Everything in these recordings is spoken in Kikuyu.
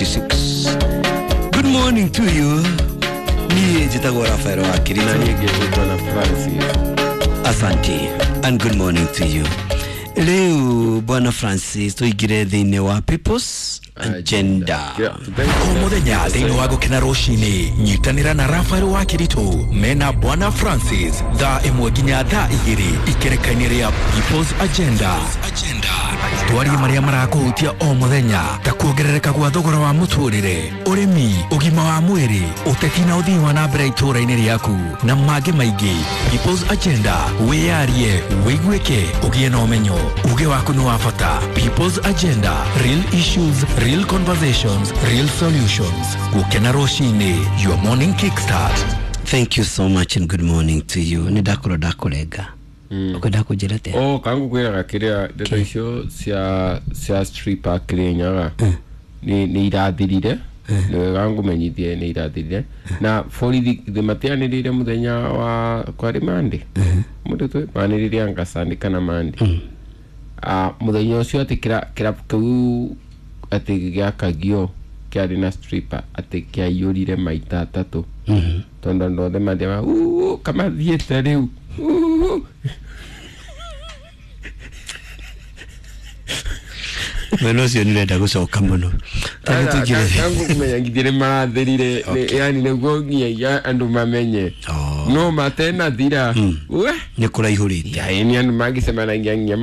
2026. Good morning to you. Niĩ njĩtagwo Rafael wa Na Kirito. niĩ ngĩtwo na Francis. Asante and good morning to you. Rĩu Bwana Francis tũingĩre thĩinĩ wa People's Agenda. O muthenya thĩinĩ wa gũkena rũcinĩ, nyitanĩra na Rafael wa Kĩritũ mena Bwana Francis thaa 1 nginya thaa 2 ikereka-inĩ rĩa People's Agenda. Twarie marĩa marakũhutia o mũthenya ta kuongerereka gwa thogora wa mũtũrĩre, ũrĩmi, ũgima wa mwĩrĩ, ũteti na ũthii wa na mbere itũũra-inĩ rĩaku na mangĩ maingĩ. People's Agenda, wĩyarie, wĩiguĩke, ũgĩe na ũmenyo. Uge waku nĩ wa bata. People's Agenda, real issues, real conversations, real solutions. Gũkena rũcinĩ, your morning kickstart. Thank you so much and good morning to you. Nĩ ndakorwo ndakũrenga. Ũkwenda kũnjĩra atĩa? O kangu kwĩraga kĩrĩa ndeto icio cia stripper Kĩrĩnyaga nĩ irathirire. Nĩ wega ngũmenyithie nĩ irathirire na borithi matianĩrĩire mũthenya wa kwarĩ mandi mũndũ twĩ manĩrĩire anga Sunday kana mandi. Mũthenya ũcio atĩ kĩrabu kĩu atĩ gĩakagio kĩarĩ na stripper atĩ kĩaiyũrire maita atatũ tondũ andũ othe mathiaga "Uu, kamathiĩte rĩu uu." Mwena ũcio nĩ ũrenda gũcoka mũno. Tondũ tũingĩre. Kangu kũmenya ngithĩ nĩ marathirire, yani nĩguo nginyagia andũ mamenye Oh. no matenathira we. Nĩ kũraihũrĩte. Yaani andũ mangĩcemanagia nginya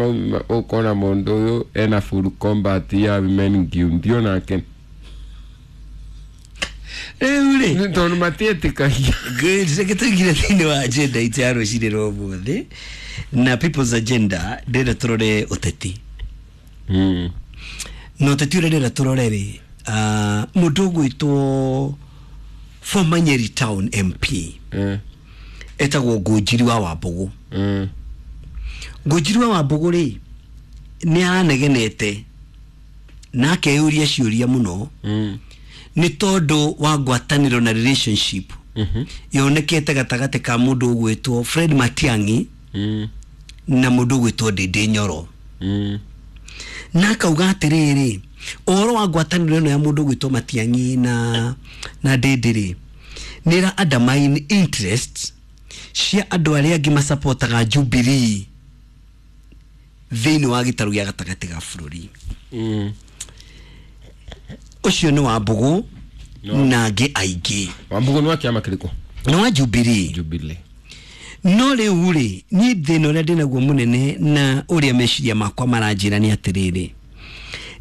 ũkona mũndũ ũyũ ena full combat ya women guild onake. Rĩu rĩ, Nĩ tondũ matiĩtĩkagia. Good. Reke tũingĩre thĩinĩ wa agenda itũ ya rũcinĩ rwa ũmũthĩ na People's Agenda. Ndĩrenda tũrore ũteti na ũteti ũrĩa ndĩrenda tũrore rĩ, mũndũ ũgwĩtwo former Nyeri Town MP etagwo Ngũnjiri wa Wambũgũ. Ngũnjiri wa Wambũgũ rĩ, nĩ aranegenete na akeyũria ciũria mũno nĩ tondũ wa ngwatanĩro na relationship yonekete gatagatĩ ka mũndũ ũgwĩtwo Fred Matiang'i na mũndũ ũgwĩtwo Ndĩndĩ Nyoro. Na akauga atĩrĩrĩ, ũhoro wa ngwatanĩro ĩno ya mũndũ ũgwĩtwo Matiang'i na Ndĩndĩ rĩ, nĩ ĩra undermine interest cia andũ arĩa angĩ masapotaga Jubilee thĩinĩ wa gĩtarũ gĩa gatagatĩ ga bũrũri. Ũcio nĩ Wambũgũ na angĩ aingĩ. Wambũgũ nĩ wa kĩama kĩrĩkũ? Nĩ wa Jubilee. Jubilee. No rĩu rĩ, niĩ thĩna ũrĩa ndĩnaguo mũnene na ũrĩa meciria makwa maranjĩra nĩ atĩrĩrĩ,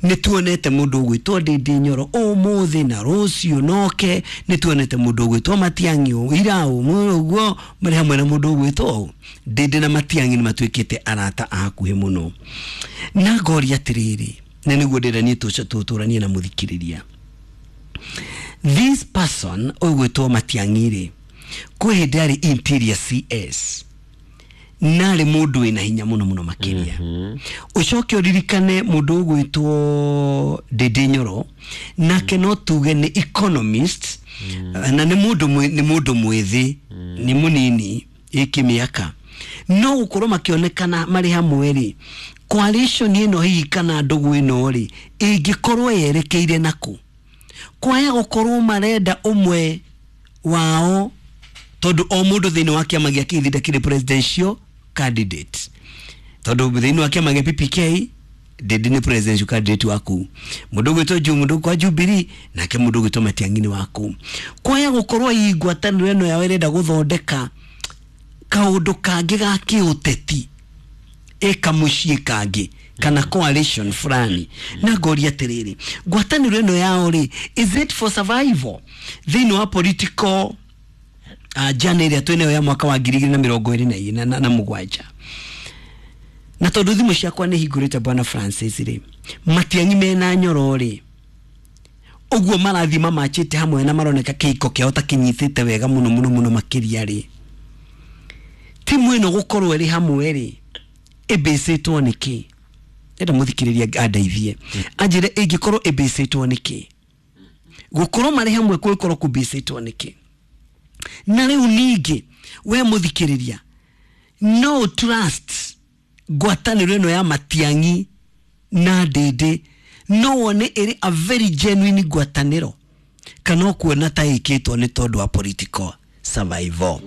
nĩ tuonete mũndũ ũgwĩtwo Ndĩndĩ Nyoro ũmũthĩ na rũciũ noke, nĩ tuonete mũndũ ũgwĩtwo Matiang'i ira ũguo marĩ hamwe na mũndũ ũgwĩtwo ũũ. Ndĩndĩ na Matiang'i nĩ matuĩkĩte arata a hakuhĩ mũno, na ngoria atĩrĩrĩ, na nĩguo ndĩrenda niĩ tũtũranie na mũthikĩrĩria, this person ũgwĩtwo Matiang'i rĩ, kwĩ hĩndĩ arĩ interior CS narĩ mũndũ wĩna hinya mũno mũno makĩria. Ũcoke ũririkane mũndũ ũgwĩtwo Ndĩndĩ Nyoro nake no tuge nĩ economist na nĩ mũndũ nĩ mũndũ mwĩthĩ, nĩ mũnini ĩkĩmĩaka, no gũkorwo makĩonekana marĩ hamwe rĩ, coalition ĩno hihi kana ndũgũ ĩno rĩ, ĩngĩkorwo yerekeire nakũ kwaya gũkorwo marenda ũmwe wao, tondũ o mũndũ thĩinĩ wa kĩama gĩa kĩthinda kĩrĩ presidential candidate, tondũ thĩinĩ wa kĩama gĩa PPK Ndĩndĩ nĩ presidential candidate waku, mũndũ ũgwĩtwo Ju mũndũ kwa Jubilee nake mũndũ ũgwĩtwo Matiang'i nĩ waku. Kwaya gũkorwo hii ngwatanĩro ĩno yao ĩrenda gũthondeka kaũndũ kangĩ ga kĩũteti ĩkamũciĩ kangĩ kana coalition fulani, na ngoria atĩrĩrĩ, ngwatanĩro ĩno yao rĩ, is it for survival thĩinĩ wa political journey ĩrĩa twĩnayo ya mwaka wa 2027? Na tondũ thimũ ciakwa nĩ hingũrĩte, Bwana Francis rĩ, Matiang'i mena Nyoro rĩ, ũguo marathiĩ mamachĩte hamwe na maroneka kĩhiko kĩao ta kĩnyitĩte wega mũno mũno mũno makĩria rĩ, timu ĩno gũkorwo ĩrĩ hamwe rĩ, ĩbĩcĩtwo nĩkĩ? Enda mũthikĩrĩria andeithie anjĩre ĩngĩkorwo ĩbĩcĩtwo nĩkĩ, gũkorwo marĩ hamwe kũngĩkorwo kũbĩcĩtwo nĩkĩ? Na rĩu ningĩ we mũthikĩrĩria, no trust ngwatanĩro ĩno ya Matiang'i na Ndĩndĩ No wone ĩrĩ a very genuine ngwatanĩro kana ũkuona ta ĩkĩtwo nĩ tondũ wa political survival?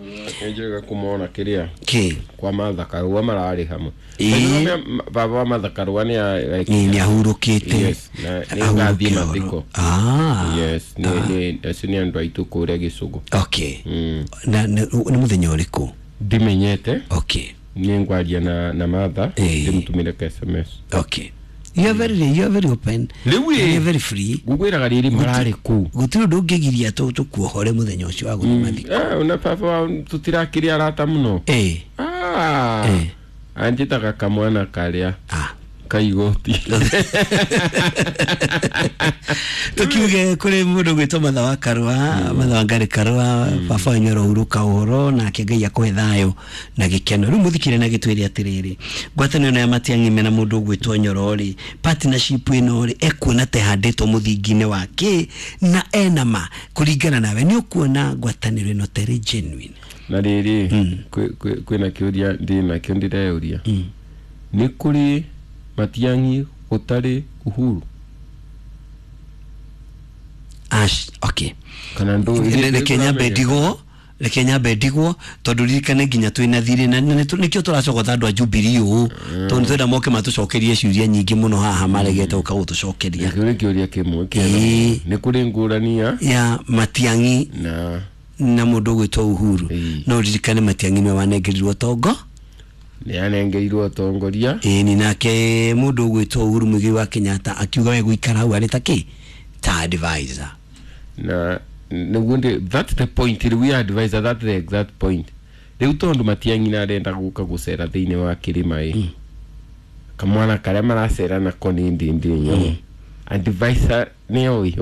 Nĩnjũĩ kumona kĩrĩa Kĩ? Kwa Martha Karua mararĩ hamwe. Ĩĩ. Na baba wa Martha Karua nĩ like, Nĩ ahurũkĩte. Yes, na nĩ ngathiĩ mathiko. Ah. Yes, nĩ acio nĩ andũ aitũ kũrĩa gĩcũgũ. Okay. Na nĩ mũthenya ũrĩkũ? Ndimenyete. Okay. Nĩ ngwaria na Martha. Ĩĩ. Ndĩmũtũmĩre ka SMS. Okay, you are very open. Rĩu ĩ. You are very free. Ngũkwĩraga rĩrĩ mararĩ kũu. Gũtirĩ ũndũ ũngĩgiria tũkuohore mũthenya ũcio wa gũthiĩ mathiko. Eh, ona baba wao tũtirakĩrĩ arata mũno. Ĩĩ. Ah, Eh. anjĩtaga kamwana karĩa Ah. kaigoti. Tukiuge kũrĩ mũndũ gwĩtwo Matha wa Karũa, Matha wa Ngarĩ Karũa, baba wanyu arohurũka ũhoro nake Ngai akũhe thayũ na gĩkeno. Rĩu mũthikĩre na gĩtwĩre atĩrĩrĩ, ngwatanĩro ĩno ya Matiang'i mena mũndũ ũgwĩtwo Nyoro rĩ, partnership ĩno rĩ, ekuona ta ĩhandĩtwo mũthingi-inĩ wa kĩ, na ena ma kũringana nawe nĩ ũkuona ngwatanĩro ĩno ta ĩrĩ genuine? Na rĩrĩ, kwĩna kĩũria ndĩ nakĩo ndĩreyũria, nĩ kũrĩ Matiang'i gũtarĩ Uhuru? Ash, okay. Kana ndũ Reke nyambe ndigwo tondũ ririkane nginya twĩna thirĩ na nĩkĩo tũracogotha andũ a Jubilee ũũ, tondũ nĩtwenda moke matũcokerie ciũria nyingĩ mũno haha maregete gũka gũtũcokeria. Kĩu nĩ kĩũria kĩmwe kĩega. Ĩĩ. Nĩ kũrĩ ngũrani ya ya Matiang'i na na mũndũ ũgwĩtwo Uhuru. Ĩĩ. No ririkane Matiang'i nĩwe wanengerirwo tongo. Nĩ anengerirwo ũtongoria. Ĩni, nake mũndũ ũgwĩtwo Uhuru Muigai wa Kenyatta akiuga we gũikara hau arĩ ta kĩ, ta advisor. Na nĩguo ndĩ, that's the point rĩu ya advisor, that's the exact point rĩu, tondũ Matiang'i na arenda gũka gũcera thĩinĩ wa kĩrĩma ĩ, kamwana karĩa maracera nako nĩ Ndindi Nyoro, advisor nĩ oĩ,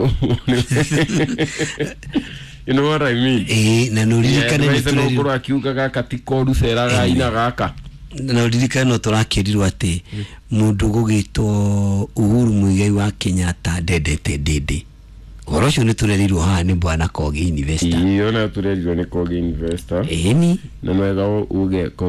you know what I mean? Ĩĩ, na no ririkane nĩ advisor no tũrerirwo ũkorwo akiuga gaka ti koru, cera gaina gaka. Na ririkane no tũrakĩrirwo atĩ mũndũ gũgĩtwo Uhuru Muigai wa Kenyatta ndendete Ndindi. Ũhoro ũcio nĩ tũrerirwo haha nĩ bwana Kogi Investor. Ĩĩ, ona tũrerirwo nĩ Kogi Investor. Ĩni. Na nwega uge Kogi.